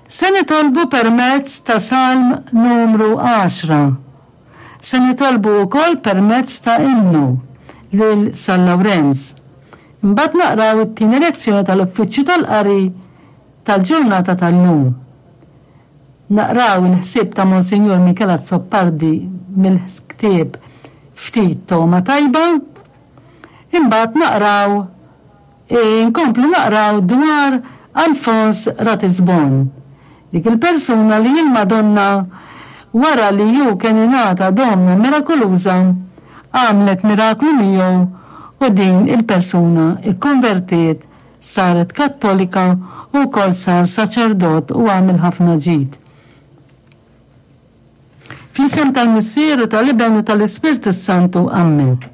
Se nitolbu permezz ta' Salm numru għaxra. Se nitolbu wkoll permezz ta' innu lil San Lawrenz. Imbagħad naqraw it-tieni lezzjoni tal-Uffiċċju tal-Qari tal-ġurnata tal-lum. Naqraw il-ħsieb ta' Monsinjur Michel Azzopardi mill-ktieb Ftit Togħma Tajba. Imbagħad naqraw Inkomplu naqraw dwar Alfons Ratisbon, dik il-persuna li l-Madonna wara li hu kien ingħata domna mirakoluża, għamlet miraklu miegħu u din il-persuna kkonvertiet, saret Kattolika u wkoll sar saċerdot u għamel ħafna ġid. Fl-isem tal-Missier u tal-Iben u tal-Ispirtu s-Santu. Ammen.